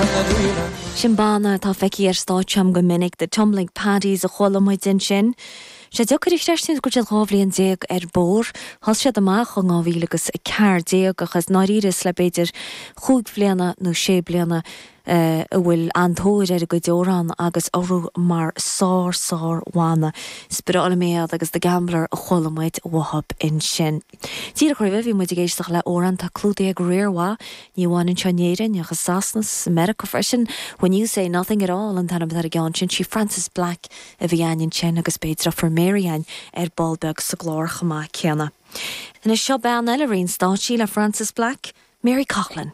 When the dealin'. Sin banna atá feicthe ar stáitse agam go minic, The Tumbling Paddies a chuala muid ansin. Sé deacair a chreistiúint go bhfuil siad 12 bhliain ar bóthar. Thosaigh siad amach in 2014 ach i ndáiríre is le b'fhéidir chúig bhliana nó sé bliana a bhfuil an-tóir ar a gcuid amhrán agus orthu mar sár sár bhanna. Is breá liom iad agus The Gambler a chuala muid uathu ansin. Díreach roimhe bhí muid ag éisteacht le amhrán atá clúdaithe ag riar mhaith, ní amháin anseo in Éirinn ach i Sasana 's i Meiriceá freisin, When You Say Nothing At All an t-ainm atá ar an gceann sin, sí Frances Black a bhí againn ansin agus beidh deirfiúr Mary againn ar ball beag sa gclár chomh maith céanna. Anois seo bean eile a roinn stáitse le Frances Black, Mary Coughlan.